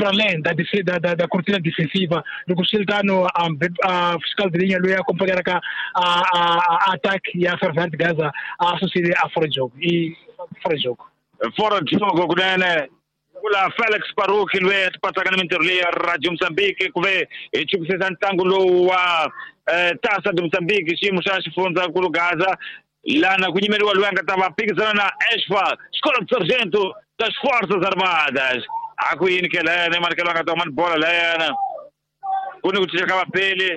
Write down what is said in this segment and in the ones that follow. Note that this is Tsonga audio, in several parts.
para além da cortina defensiva. Loko swi ri tano, a fiscal de linha loyi a acompanharaka a ataque ya Ferroviário de Gaza a susile a fora de jogo e fora de jogo. Fora de jogo kunene. Kula Felix Baruch loyi a tipatsaka na mintirho leyi ya Radio Mozambique ku ve hi chukisisa ntlangu lowu wa Taça de Mozambique, xiyimo xa xifundzankulu Gaza, lana ku yimeriwa loyi a nga ta va phikizana na ESFA, Escola de Sargento das Forças Armadas. A ku yini ke layana, manikelo a nga ta huma ni bola layana, ku ni ku cinca ka vapeli,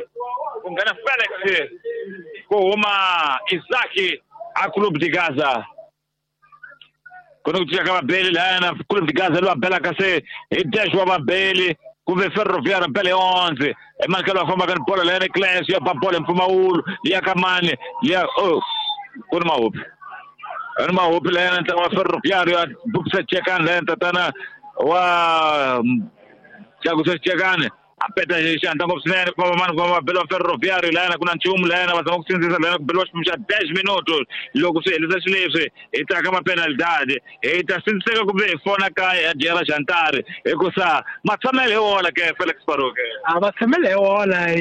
ku nghena Felix, ku huma Isaki a Clube de Gaza. Ku ni ku cinca ka vabeli layana, Clube de Gaza loyi a belaka se hi dash wa vabeli, kumbe Ferroviário bele 11. Emanikelo a fambaka ni bola layana, Clésio ya ba bola hi mpfumawulo, liya ka mani liya, oh, ku ni mahupi, ni mahupi layana, ntlangu wa Ferroviário ya bukisa chekani layana, tatana wa Tlakusa Chekani a peta xandla ngopfu swinene, ku famba mani, ku famba belo wa Ferroviário layana, ku na nchumu layana, va zama ku sindzisa layana, ku beliwa xiphemu xa 10 minutos. Loko swi helisa xileswi, hi ta ka mapenalidade, hi ta sindziseka kumbe hi fona kaya ya dyela xantari, hikusa matshamelo hi wona ke Felix Baruch. A va tshamele hi wona,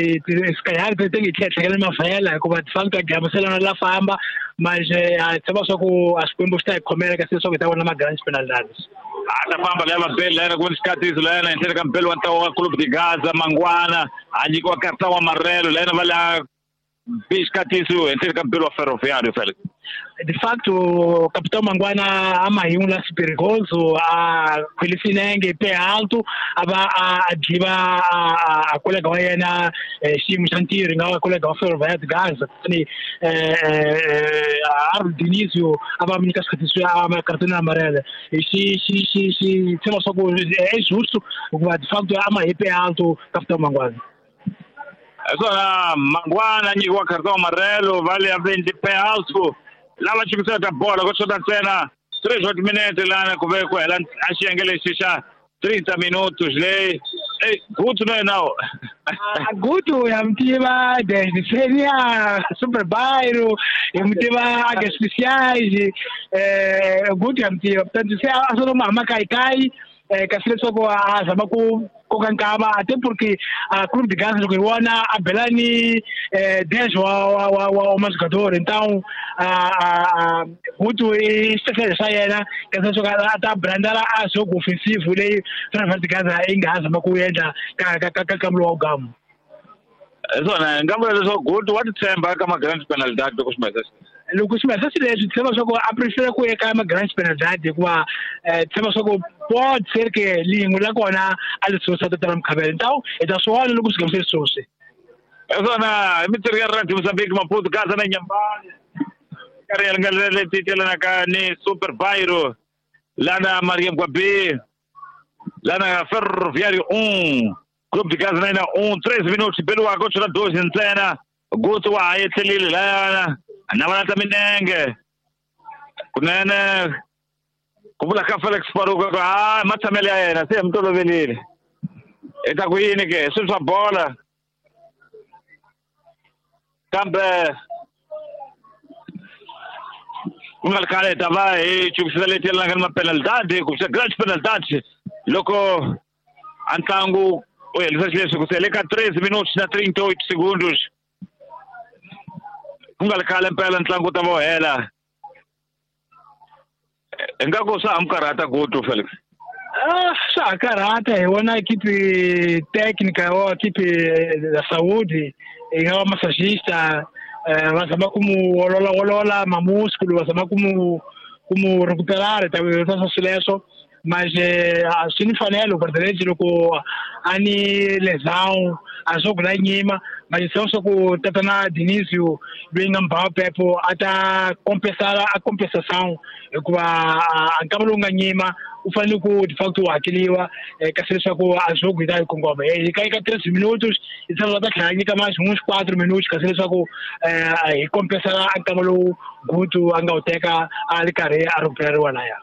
sikayari ti nge tlhetlhekele mavhela, hikuva ti fana ta gamuselana la famba, mas a tshemba swa ku a Xikwembu xi ta hi khomela kasi leswaku hi ta vona ma-grand penalidades. A ta famba leya vabeli layana, ku ni xikatiso layana henhleni ka mbeli wa ntlawa wa Clube de Gaza, Mangwana a nyikiwa karta wa marelo layana, va la bi xikatiso henhleni ka mbeli wa Ferroviário, Felix. De facto, capitão Mangwana a mahingu la perigoso, a khwelisinenge pé alto, a va a dliva a colega wa yena xiyimo xa ntirho, yi nga va colega wa Ferroviário de Gaza, kutani Arnold Dionísio a va nyika xikatiso ya cartão amarelo. Xi xi xi xi tshemba swa ku é justo, hikuva de facto a ma hi pé alto capitão Mangwana. Hi swona, Mangwana nyikiwa cartão amarelo, va le a pé alto lava chukisaka bola, ku xota ntsena 3 wa timinete lana ku ve ku hela a xiyenge lexi xa 30 minutos leyi. Ey, Gutu na yena. Gutu ya mtiva desde Série Super Bairro, ya mtiva Águias Especiais, Gutu ya mtiva. Portanto, se a só uma kai kasi leswaku a zama ku koka nkava, até porque a Clube de Gaza loko hi vona a bela ni 10 wa majogador, então a Gutu i xitehlele xa yena kasi leswaku a ta brandala a jogo ofensivo leyi Ferroviário de Gaza yi nga ha zama ku endla ka nkambo wa gamu. Hi swona, hi nga vula leswaku Gutu wa titshemba ka ma-grand penalidade loko swi mahisa. Loko swi mahisa xileswi, tshemba swa ku a prefera ku ya ka ma-grand penalidade, hikuva tshemba swa ku pode ser que lin'we la kona a li susa tatana Mukhabela, então hi ta swi vona loko swi se susi. Hi swona, hi mintirho ya Radio Mozambique, Maputo, Gaza na Nyambani, karhi ya nga leti telanaka ni Super Bairro lana Maria Mgwabi, lana Ferroviário 1, Clube de Gaza na 1, 13 minutos beliwaka, ku xota 12 ntsena. Gutu wa ha etlelile layana, na va lata minenge kunene, ku vula ka Felix Baruch ku ha matshamelo ya yena se hi mi tolovelile, hi ta ku yini ke swilo swa bola, kambe ku nga ri khale hi ta va hi chukisisa leti yelanaka ni mapenalidade, ku xa grand penalidade, loko a ntlangu u helisa xileswi ku sele ka 13 minutos na 38 segundos. Ku nga ri khale mpela ntlangu wu ta va wu hela. Ingaku swa ha mi karhata Gutu, Felix? Swa ha karhata, hi vona equipe técnica ou equipe da saúde, yi nga va massagista, va zama ku mu olola olola mamúsculo, va zama ku mu recuperar, ta swileswo, mas swi ni mfanelo presidente loko a ni lesão a jogo la nyima, mas só só ku tatana Dionísio loyi nga mbhawa pepo a ta compensar a compensação, hikuva a nkama lowu nga nyima u fanele ku de facto u hakeliwa, kasi leswaku a jogo yi ta yi kongoma ka 13 minutos, yi tshama va ta tlhela nyika mais uns 4 minutos, kasi leswaku hi compensar a nkama lowu Gutu a nga wu teka a ri karhi a recuperariwa laya.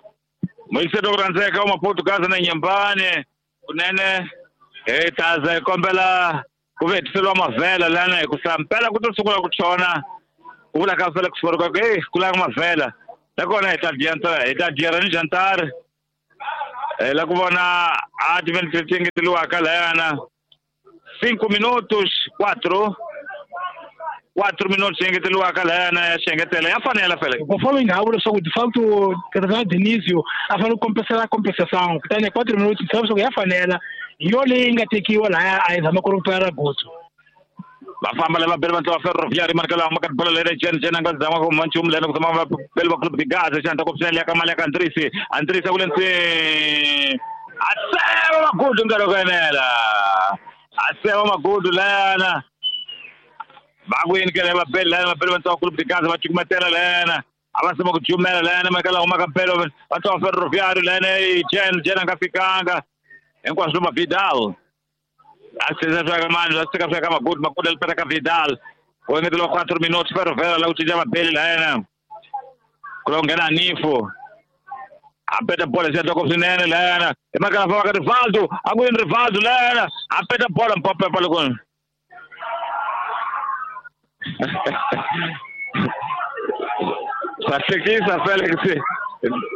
Moyiseto ku rhandzeka wa Maputo, Gaza na Nyambani, kunene hi ta za hi kombela ku vetiseriwa mavhela lana, hikusa mpela ku to sungula ku chona, ku vula ka Felix Baruch ku hey, ku lava mavhela nakona hi ta dya hi ta dyera ni jantari. La ku vona a timinete leti engeteriwaka layana 5 minutos 4 minutos engeteriwaka layana ya xengetela ya fanela fele. Conforme nga vula leswaku de facto Tatiana Dionísio a fanele ku compensar a compensação kutani 4 minutos leswaku ya fanela hi yo leyi nga tekiwa laya a yi zama ku recuperar Guto. Va famba lava bele va ntlawa Ferroviário markela ma ka bola lere chen chen nga zama ku manchum lena ku zama bele va Clube de Gaza xanta ku psela ka mali ya ka Andrisi Andrisi ku lentsi aseva magudu nkarhi ku enela aseva magudu lena va ku yini ke lava bele lena va bele va ntlawa Clube de Gaza va cukumetela lena a va zama ku jumela lena markela huma ka bele va ntlawa Ferroviário lena chen chen nga fikanga hinkwaswo ma Vidal Magudu Magudu alipata ka Vidal ku engeteriwa 4 minutos Ferroviário la ku cinca vabeli layena ku lo nghena Nifo a peta bola xi endla swinene layena i makala famba ka Rivaldo a ku yini Rivaldo layena a peta bola mpopepa loko swa hlekisa Felix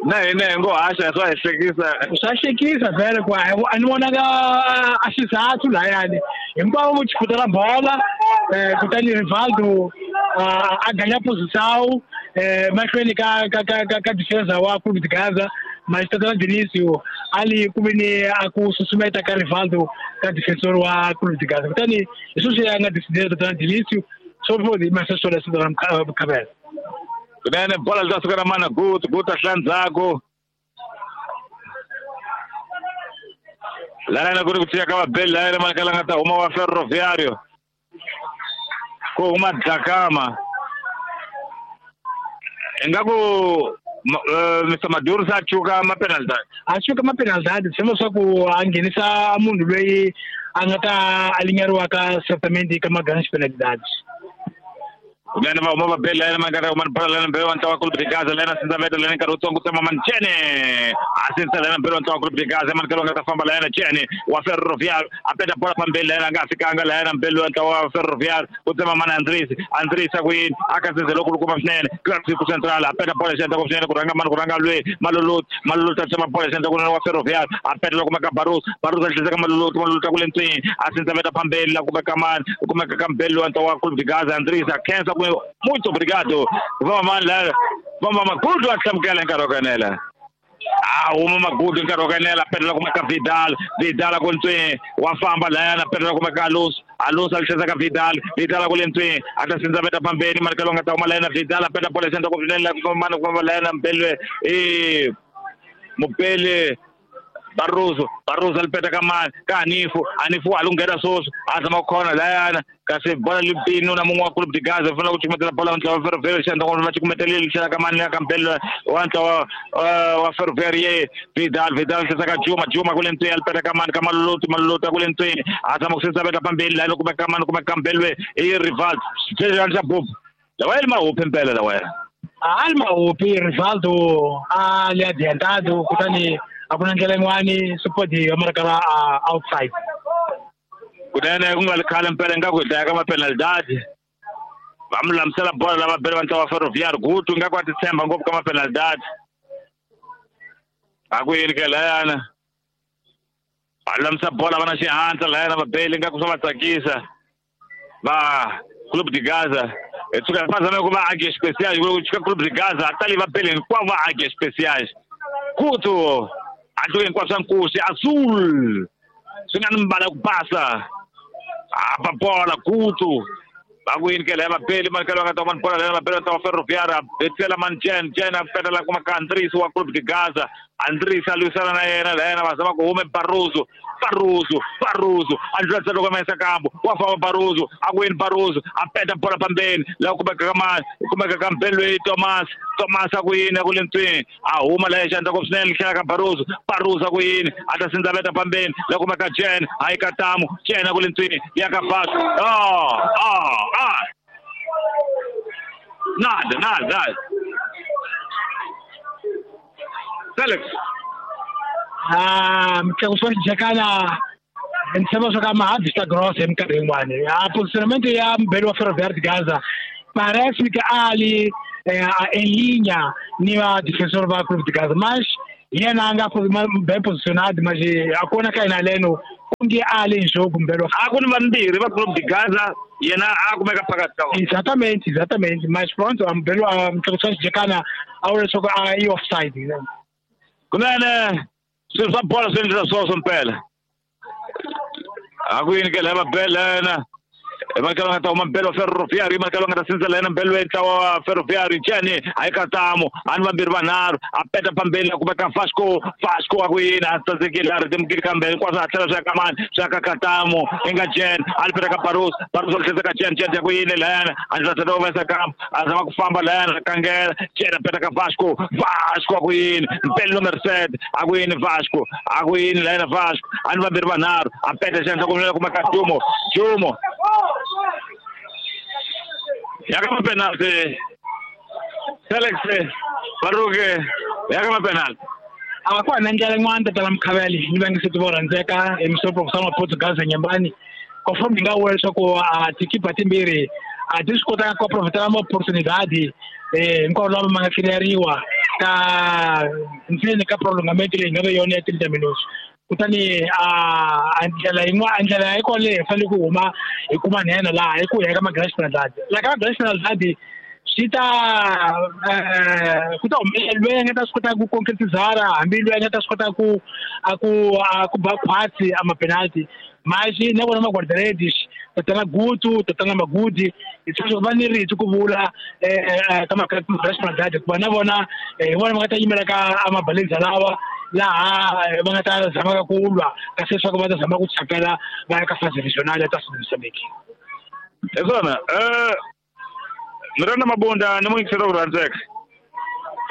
na hina hi ngo haxa swa hi hlekisa swa hlekisa vhele ku a ni vonaka a xizathu layani hinkwavo vo chiputela bola kutani Rivaldo a ganya posição mahlweni ka ka ka ka ka defensa wa Clube de Gaza mas Tatiana Dionísio ali ku ve ni a ku susumeta ka Rivaldo ka defensor wa Clube de Gaza kutani hi sweswi a nga decidela Tatiana Dionísio swo vodi maseswo leswi ra Mkhabela. Kunene bola li ta suka na mana Guto Guto a hlaya ndzhaku lana ku ri ku cinca ka vabeli layena manekela nga ta huma wa Ferroviário ku huma Dlakama ingaku Mr Maduro se a cuka mapenalidade a cuka mapenalidade tshemba leswaku a nghenisa munhu loyi a nga ta alinyariwaka certamente ka magrandes penalidades. Kunene va huma vabeli layena manekela huma bola layena mbele wa ntlawa Clube de Gaza layena sindzaveta layena nkarhi wutsongo tsema Manchene a sindza layena mbele wa ntlawa Clube de Gaza manekela nga ta famba layena Chene wa Ferroviário a peta bola phambili layena a nga fikanga layena mbele wa ntlawa wa Ferroviário ku tsema mana Andrisi Andrisi a ku yini a ka sindzelo kulukumba swinene Clássico Central a peta bola xi endla ku swinene ku rhanga mani ku rhanga lwe Maluluti Maluluti a tsema bola xi endla kunene wa Ferroviário a peta loko kumeka Barus Barus a tlhisa ka Maluluti Maluluti a ku le ntswini a sindzaveta phambili la kumeka mani ku kumeka ka mbele wa ntlawa wa Clube de Gaza Andrisi a khensa muito obrigado. Vamos lá, vamos Magudu a hlamukela nkarhi wa ku enela. A huma Magudu nkarhi wa ku enela petela kumeka Vidal Vidal a ku ntswini wa famba layana petela kumeka Alonso Alonso a tlhisa ka Vidal Vidal a ku le ntswini a ta sindzaveta phambeni manikelo nga ta huma layena Vidal a peta bola xi endla ku swinene mani ku famba layena mbele i mupele Barroso Barroso alipeta ka mani ka Hanifo Hanifo a lunghela sweswi a zama ku khona layana kasi bola lipino na mun'we wa Clube de Gaza u fanele ku cukumetela bola ntlawa wa Ferroviário xi endla va cukumetelile tlhela ka mani ka mbele wa ntlawa wa Ferroviário ye Vidal Vidal tlhisa ka Juma Juma ku le ntswini alipeta ka mani ka Maluluti Maluluti a ku le ntswini a zama ku sindzaveta phambili layani kumeka ka mani kumeka ka mbele i Rivaldo xa bubu lawa li mahupi mpela lawaya a li mahupi Rivaldo a li adiantado kutani a ku na ndlela yin'wani swi ya marakala outside. Kunene ku nga ri khale mpela ingaku hi dlaya ka mapenalidade va mi lulamisela bola lava bele va ntlawa wa Ferroviário Guto ingaku a ti tshemba ngopfu ka mapenalidade a ku yini ke layana va lulamisa bola va na xihatla layana vabeli ingaku swa va tsakisa va Clube de Gaza hi tshuka va zame ku va águias especiais ku chika Clube de Gaza a tali vabeli hinkwavo va águias especiais Guto a tluke hinkwaswo swa nkosi azul swi nga ni mbala ku basa a ba bola Guto va ku yini ke laya vabeli manikelo va nga ta huma ni bola laya vabeli va ta wa Ferroviário a betela mani Chen Chen a petela kuma ka Andrisi wa Clube de Gaza Andrisi a lwisana na yena layena va zama ku hume Barroso Barroso Barroso a ndlula loko ma yisa kambu wa famba Barroso a ku yini Barroso a peta bola phambeni laha kumeka ka mani kumeka ka mbele loyi Thomas Thomas a ku yini a ku le ntswini a huma laya xandla ku swinene tlhela ka Barroso Barroso a ku yini a ta sindzaveta phambeni laha kumeka Chen a yi ka Tamu Chen a ku le ntswini ya ka Bas nada nada nada Felix mtlakuso wa xijakana ni tshemba swa ka ma vista grossa hi minkarhi yin'wani a positionamento ya mbele wa Ferroviário de Gaza parece que ali em linha ni va defensor va Clube de Gaza mas Yena a nga bem posicionado, mas a kona ka yena leno onge a le em jogo mbelo. A ku ni vambirhi va Clube de Gaza, yena a kumeka phakathi ka vona. Exatamente, exatamente. Mas pronto, a mbelo a mtlhatlhosi Jekana a vula leswaku a yi offside. Kunene swilo swa bolo swi endlisa swoswo mpela. A ku yini ke la va bela yena. Marcelo nga ta huma mbelo Ferroviário, Marcelo nga ta sindzela yena mbelo ntlawa wa Ferroviário Jeni a yi katamo a ni vambirhi vanharhu a peta phambeni a kumeka Vasco Vasco a ku yini a tsandzekile a rhetemukile kambe hinkwaswo a tlhela swi ya ka mani swi ya ka Katamo i nga Jen a li peta ka Barros Barros a tlhela ka Jen Jen ya ku yini layana a ndzi tlhela humesa kambe a zama ku famba layana kangela Jen a peta ka Vasco Vasco a ku yini mpelo numero 7 a ku yini Vasco a ku yini layana Vasco a ni vambirhi vanharhu a peta xandla ku kumeka Jumo Jumo ya ka mapenalty Felix Baruke ya ka mapenalty a ku na ndlela yin'wana tatana Mkhavele ni va nge se tiva rhandzeka hi misopro kusama Portugal Nyambani conforme ni nga vula leswaku a tikipa timbirhi a ti swi kotanga ku profitela ma oportunidade hinkwavo lava ma nga cleariwa ka ntsena ka prolongament leyi nga ve yona ya 30 minutes. Kutani a ndlela yin'wana ndlela yi kona leyi hi fanele ku huma hi kuma nhenha laha hi ku ya ka ma-grand penalty. Laha ka ma-grand penalty swi ta ku ta humelela loyi a nga ta swi kota ku concretizara hambi loyi a nga ta swi kota ku a ku ba khwatsi a ma-penalty. Mas na vona ma-guarda-redes tatana Gutu tatana Magudi hi sweswo va ni rito ku vula ka ma-grand penalty hikuva na vona hi vona va nga ta yimela ka a mabalenza lawa laha va nga ta zamaka ku lwa kasi leswaku va ta zama ku chapela va ya ka phase regional ya ta Mozambique. Hi swona Miranda Mabunda ni muyingiseri ku rhandzeka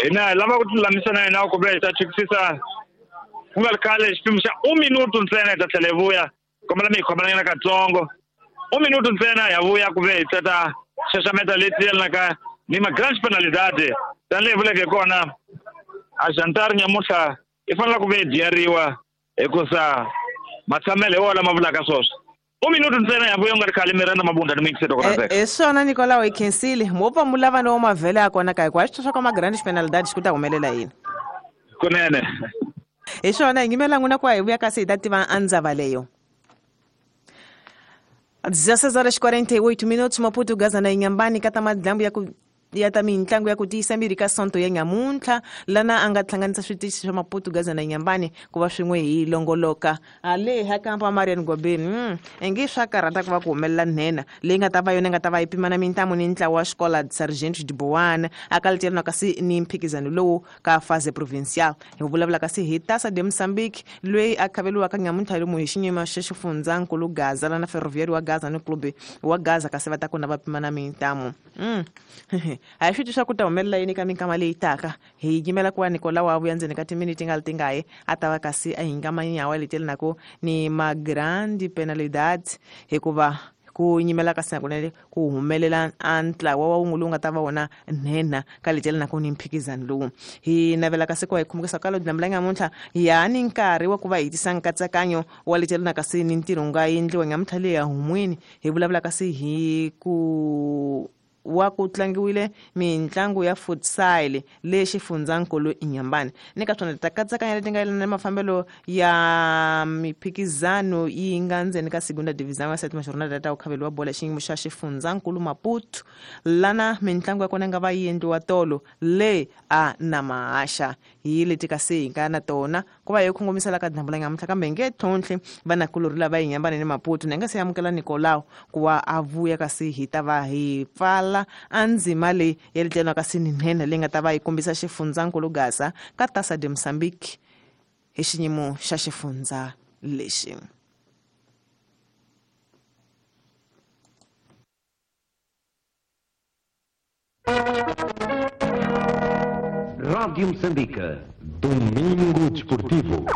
hina hi lava ku tilulamisa na yena ku ve hi ta chekisisa ku nga ri khale xipimo xa 1 minuto ntsena hi ta tlhela hi vuya kombela mi hi khomelanyana katsongo 1 minuto ntsena ya vuya ku ve hi tata xaxameta leti yelanaka ni ma-grand penalidade tanihi vuleke kona a jantar nyamuhla i fanele ku ve hi dyeriwa hikusa matshamelo hi wona lama vulaka swoswo 1 minuto ntsena ya vuya u nga ri khale Miranda Mabunda ni muyingiseri ku rhandzeka. Hi swona Nicolau hi khensile mo pfa mu lava no mavhele ya kona ka hikuva xi swa ka ma-grand penalidade ku ta humelela yini kunene. Hi swona hi yimela n'wina ku hi vuya kasi hi ta tiva andzava leyo. 16:48 minutos Maputo Gaza na Inhambane ka ta madlambu ya ku ya ta mintlangu ya ku tiyisa miri ka sonto ya nyamuntlha lana a nga hlanganisa switichi swa Maputo Gaza na Inhambane ku va swin'we hi longoloka ale ha kampa Marian Gobeni ingi swa karhata ku va ku humelela nhenha leyi nga ta va yona nga ta va yi pimana mintamu ni ntlawa wa xikola Sargento de Boana a kalitelana kasi ni mphikizano lowu ka phase provincial hi vulavula kasi hi Taça de Moçambique loyi a khaveliwaka nyamuntlha lomu hi xinyima xa xifundzankulu Gaza lana Ferroviário wa Gaza ni Clube wa Gaza kasi va ta kona va pimana mintamu. A hi swi twi swa ku ta humelela yini ka minkama leyi taka hi yimela ku va Nicolau a vuya ndzeni ka timiniti nga li tingahi a ta va kasi a hinga manyawa leti yelanaka ni ma-grande penalidade hikuva ku nyimela ka kunene ku humelela a ntlawa wa wun'we lowu nga ta va wona nhenha ka leti yelanaka ni mphikizano lowu. Hi navela kasi ku va hi khumukisa ka dyambu la nyamuntlha ya ni nkarhi wa ku va hi tisa nkatsakanyo wa leti yelanaka kasi ni ntirho nga endliwa nyamuntlha leyi ya humweni hi vulavula kasi hi ku wa ku tlangiwile mintlangu ya futsal le xifundzankulu Inhambane ni ka swona ta katsakanya leti nga yelana na mafambelo ya miphikizano yi nga ndzeni ka segunda divisão ya sétima jornada ta ku khaveliwa bola xiyimo xa xifundzankulu Maputo lana mintlangu ya kona nga va yi endliwa tolo le a na mahaxa hi leti kasi hi nga na tona ku va hi kongomisela ka dyambu la nyamuntlha kambe hi nge tlhontlhi vanakulorhi lava Inhambane ni Maputo ni nga se amukela Nicolau ku va a vuya kasi hi ta va hi pfala a ndzima leyi ya letlelana kasi ni nhenha leyi nga ta va yi kombisa xifundzankulu Gaza ka Taça de Moçambique hi xiyimo xa xifundza lexi. Rádio Moçambique, Domingo Desportivo.